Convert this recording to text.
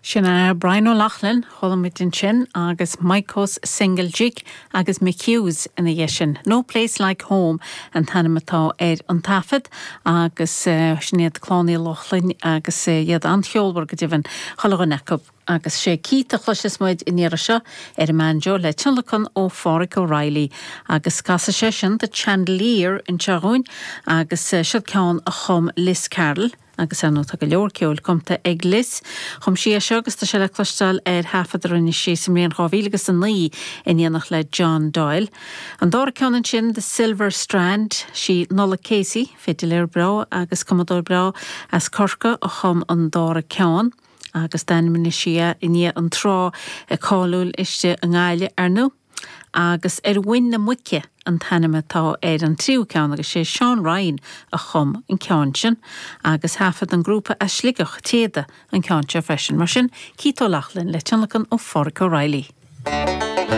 Sin é Brian Ó Lochlainn, chuala muid ansin, agus Maidhcó's Single Jig agus Mick Hughes ina dhiaidh sin. No Place Like Home an t-ainm atá ar an taifead agus sin iad Clann Uí Lochlainn agus iad an-cheolmhar go deimhin, chuile dhuine acu. Agus sé Keith a chloisfeas muid an iarraidh seo ar an mbanjo le tionlacan ó Pháraic O'Reilly agus casfaidh sé sin The Chandelier anseo dhúinn agus seo ceann a chum Liz Carroll. Agus ar ndóigh tá go leor ceoil cumtha ag Liz. Chum sí é seo agus tá sé le cloisteáil ar thaifead a rinne sí sa mbliain 2009 in éineacht le John Doyle. An dara ceann ansin, The Silver Strand, sí Nollaig Casey, fidiléir breá agus cumadóir breá as Corcaigh a chum an dara ceann agus d'ainmnigh sí é i ndiaidh an trá cáiliúil istigh i nGaillimh, ar ndóigh. Agus Ar Mhuin na Muice an t-ainm atá ar an tríú ceann agus sé Seán Ryan a chum an ceann sin agus thaifead an grúpa as Sligeach, Téada, an ceann seo freisin. Mar sin, Keith Ó Lochlainn le tionlacan ó Pháraic O'Reilly.